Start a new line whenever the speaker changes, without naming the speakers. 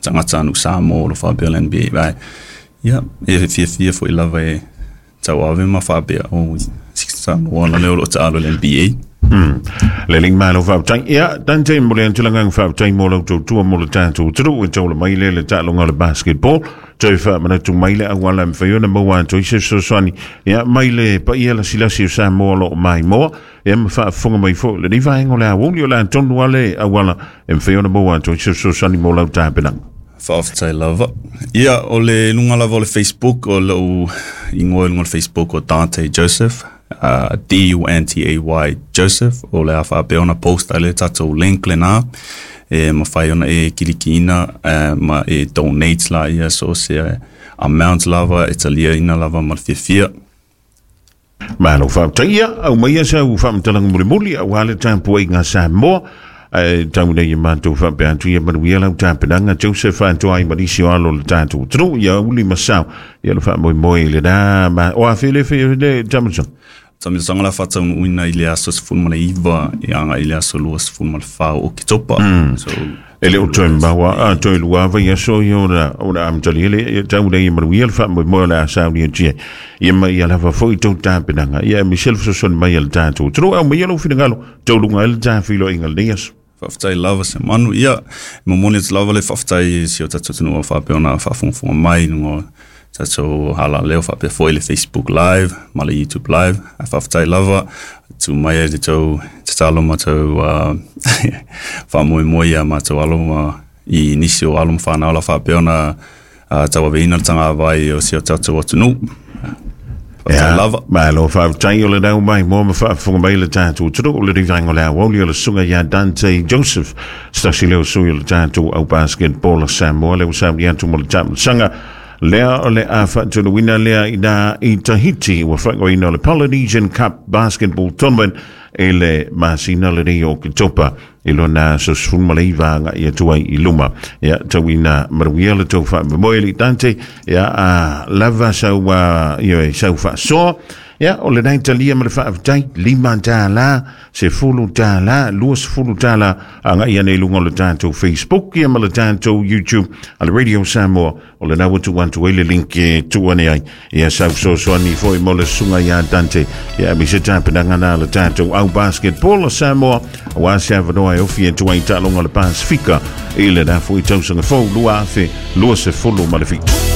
tagatanuu Samoa o lo faapea le NBA, ae ia, e fiafia foi lava e tauave ma faapea, o Samoa la lea o loo taalo i le NBA.
Le alii malo faafetai. Ia, Dante, mo le atu le agaga faafetai mo lau tautua mo le tatou atunuu e taula mai lea le taaloga o le basketball. Toe faamanatu mai le auala e mafai ona maua atu ai se fesoasoani. Ia, mai le paia lasilasi o Samoa o lo o maimoa, ia ma faafofoga mai foi i lenei vaega o le aoauli o le a tonu lava le auala e mafai ona maua atu ai se fesoasoani mo lau tapenaga.
Faafetai lava. Ia, o le luga lava o le Facebook, o lou igoa i luga o le Facebook o Dante Joseph, Duntay Joseph, o le a faapea ona post ai le tatou link lena, e mafai ona e kilikiina ma e donate la ia so se amount lava e taliaina lava ma le fiafia.
Malo faafetai. Ia, aumaia sau faamatalaga mulimuli aua le tapuaiga a Samoa. Ae tau nei e matou faapea atu ia manuia lau tapenaga Joseph Atoai ma nisi o alo o le tatou atunuu ia uli ma sao ia le faamoemoe i lena ma o afe le fe le Jamison.
Tamilosaga la faataunuuina i le aso 19 e agai i le aso 24 o Oketopa. So,
E le o toe maua a toe lua vaiaso ia ona ona amatalia le ia tau nei e manuia le faamoemoe o le a saunia tia ia ma ia lava foi tou tapenaga ia e aemaise le fesoasoani mai a le tatou atunuu. Aumaia lou finagalo taualuga ai le ta feiloaiga i lenei aso.
Faafetai lava se manu. Ia, e momoli atu lava le faafetai i si o tatou atunuu o faapea ona faafogafoga mai i luga o tatou alaleo faapea foi le Facebook Live ma le YouTube Live. Ae faafetai lava, tuu mai ai le tou tatalo ma tou faamoemoe ia matou alo ma i nisi o alo ma fanau la faapea ona tauaveina le tagavai o si o tatou atunuu. Faafetai lava.
Malo faafetai o le nau mai moa ma faafofoga mai le tatou atunuu o le rivaega o le aoauli o le susuga ia Dante Joseph, se tasi lea o sui o le tatou au basketball a Samoa lea ua sauni atu mo le taamilosaga lea o le a faatunuina lea ina i Tahiti ua faaigoaina o le Polynesian Cup Basketball Tournament i le masina lenei o Oketopa i lona aso 19 agai atu ai i luma. Ia, tauina manuia le tou faamoemoe alii Dante, ia, a lava sau, ioe, sau faasoa. Ia, o lenei talia ma le faafetai, $5, $10, $20 agai ane i luga o le tatou Facebook ia ma le tatou YouTube a le Radio Samoa. O lena ua tuu atu ai le link e tuu ane ai ia sau fesoasoani foi mo le susuga ia Dante ia aemaise tapenaga na le tatou au basketball a Samoa aua se avanoa e ofi atu ai taaloga o le Pasifika i lena foi tausaga fou 2027.